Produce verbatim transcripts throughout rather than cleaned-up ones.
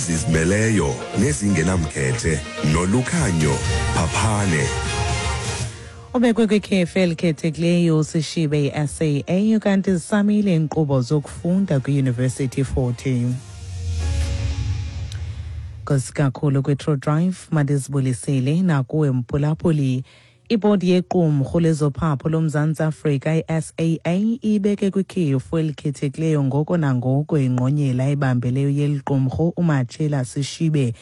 Ezizimeleyo nezingenamkhethe noLukhanyo Phaphane. Ubekwe kwikhefu elikhethekileyo uSishibe i-S A A, kanti zisamile iinkqubo zokufunda kwiYunivesithi Fort Hare. Nkosi kakhulu kwi-True Drive, mandizibulisele nakuwe mphulaphuli. Ibhodi yequmrhu lezophapho loMzantsi Afrika, i-S A A, ibeke kwikhefu elikhethekileyo ngoko nangoko ingqonyela ebambeleyo yeli qumrhu, uMatshela Sishibe.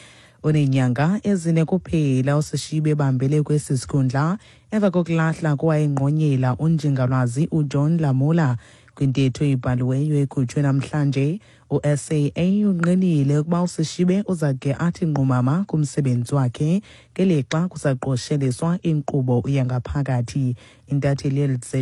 Uneenyanga ezine kuphela uSishibe ebambele kwesi sikhundla emva kokulahla kowayengqonyela, uNjingalwazi uJohn Lamola. Kwintetho ebhaliweyo ekhutshwe namhlanje, u-S A A unqinile ukuba uSishibe uza ke athi nqumama kumsebenzi wakhe ngelixa kusaqosheliswa inkqubo yangaphakathi. Intatheli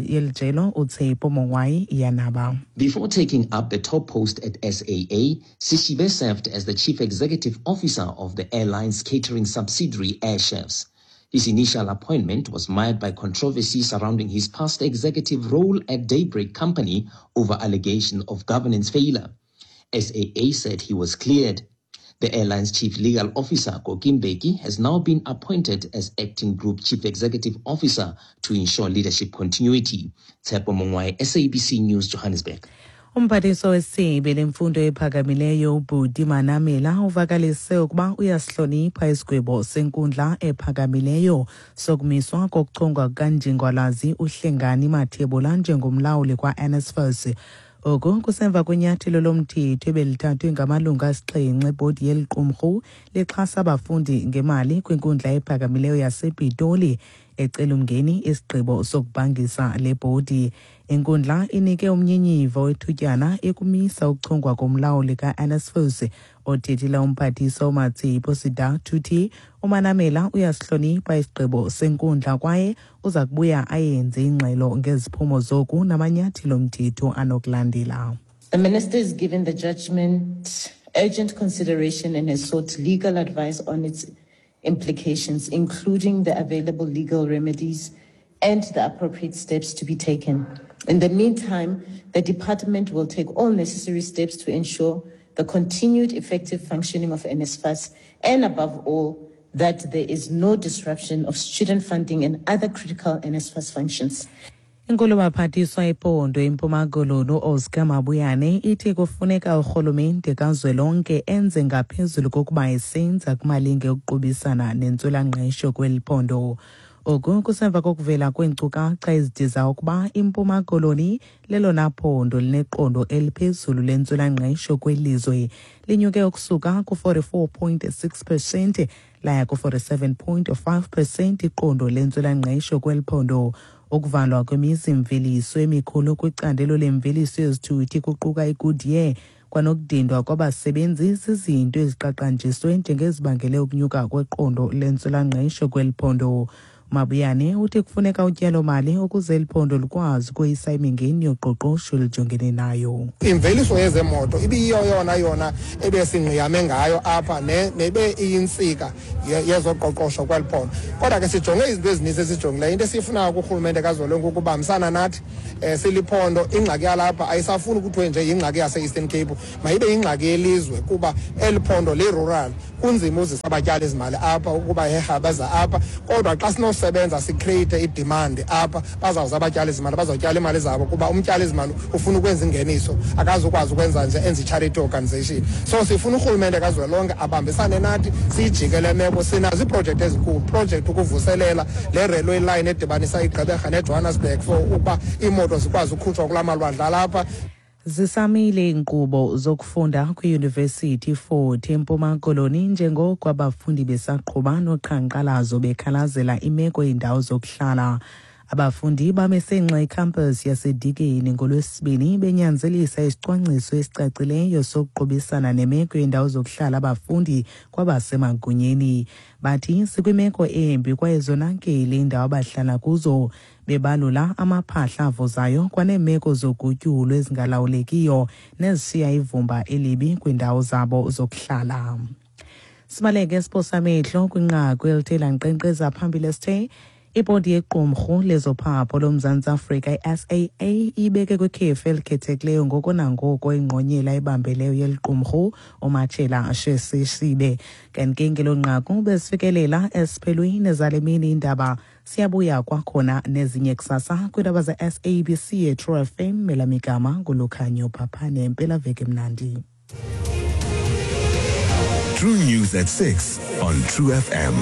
yeli jelo uTshepo Mongwai iyanaba. Before taking up the top post at S A A, Sishibe served as the chief executive officer of the airline's catering subsidiary, Air Chefs. His initial appointment was mired by controversy surrounding his past executive role at Daybreak Company over allegation of governance failure. S A A said he was cleared. The airline's chief legal officer, Koki Mbeki, has now been appointed as acting group chief executive officer to ensure leadership continuity. Tshepo Mongwai, S A B C News, Johannesburg. Umphathiswa wesebe lemfundo ephakamileyo, uButi Manamela, uvakalise ukuba uyasihlonipha isigwebo senkundla ephakamileyo sokumiswa kokuchongwa kukanjingalwazi uHlengani Mathebula njengomlawuli kwa-N S F A S. Oku kusemva kwenyathelo lomthetho ebelithathwe ngamalungu asixhenxe ebhodi yeli qumrhu lixhasa abafundi ngemali kwinkundla ephakamileyo yasePitoli, ecela umngeni isigqibo sokubhangisa le bhodi. Inkundla inike umnyinyiva wethutyana ekumisa ukuchongwa komlawuli ka-N S F A S. Othethela umphathiswa uMatshepo Sedathuthi, uManamela uyasihlonipha isigqibo senkundla kwaye uza kubuya ayenze ingxelo ngeziphumo zoku namanyathelo omthetho anokulandela. The minister is given the judgment urgent consideration and has sought legal advice on its implications, including the available legal remedies and the appropriate steps to be taken. In the meantime, the department will take all necessary steps to ensure the continued effective functioning of N S F A S and, above all, that there is no disruption of student funding and other critical N S F A S functions. Inkulubaphathiswa iphondo iMpuma Koloni, uOscar Mabuyane, ithi kufuneka urhulumente kazwelonke enze ngaphezulu kokuba esenza kumalinge okuqubisana nentswelangqesho kweli phondo. Oku kusemva kokuvela kweenkcukacha ezidiza ukuba iMpuma Koloni lelona phondo lineqondo eliphezulu lentswelangqesho kwelizwe, linyuke ukusuka ku-forty-four point six percent laya ku-forty-seven point five percent iqondo lentswelangqesho kweli phondo. Ukuvalwa kwemizimveliso emikhulu kwicandelo lemveliso yezithuthi, kuquka iGoodyear, kwanokudindwa kwabasebenzi zizinto eziqaqanjiswe njengezibangele ukunyuka kweqondo lentswelangqesho kweli phondo. Mabuyane uthi kufuneka utyalomali ukuze eli phondo likwazi ukoyisa imingeni yoqoqosho elijongene nayo. Imveliso yezemoto ibiyiyo yona yona ebesingqiyame ngayo apha nebe iyintsika yezoqoqosho kweli phondo, kodwa ke sijonge izinto ezininzi esijongileyo. Into esiyifunayo kurhulumente kazwelonke ukubambisana nathi um siliphondo. Ingxaki yalapha ayisafuni kuthiwe nje yingxaki yase-Eastern Cape, mayibe yingxaki yelizwe, kuba eli phondo li-rural, kunzima uzisa abatyali izimali apha ukuba heha beza apha. Kodwa xa sinosebenza si-create i-demand apha, bazawuza abatyali izimali, bazawutyala imali zabo, kuba umtyali izimali ufuna ukwenza ingeniso, akazukwazi ukwenza nje enze i-charity organization. So sifuna urhulumente kazwelonke abambisane nathi siyijike le meko. Sinazo iiprojekthi ezinkulu, project ukuvuselela le railway line edibanisa iGqeberha neJohannesburg for ukuba iimoto zikwazi ukhutshwa kulaa malwandle alapha. Zisamile iinkqubo zokufunda kwiYunivesithi Fort eMpuma Koloni njengoko abafundi besaqhuba noqhankqalazo bekhalazela imeko yeendawo zokuhlala. Abafundi bamesenxe icampus yaseDikeni ngoLwesibini benyanzelisa isicwangciso esicacileyo sokuqubisana nemeko yeendawo zokuhlala abafundi kwabasemagunyeni. Bathi sikwimeko embi kwaye zonakele iindawo abahlala kuzo, bebalula amaphahla avuzayo kwaneemeko zogutyulo ezingalawulekiyo nezishiya ivumba elibi kwiindawo zabo zokuhlala. Sibaleke siphosa amehlo kwinqaku elithe lankqenkqeza phambili esithe Ibhodi yequmrhu lezophapho loMzantsi Afrika, i-S A A, ibeke kwikhefu elikhethekileyo ngoko nangoko ingqonyela ebambeleyo yeli qumrhu, uMatshela Sesisibe. Kanti ke ngelo nqaku besifikelela esiphelweni zale mini indaba. Siyabuya kwakhona nezinye kusasa kwiindaba ze-S A B C ye-True F M. Elamigama nguLukhanyo Phaphane. Mpelaveki mnandi. True News at six on True F M.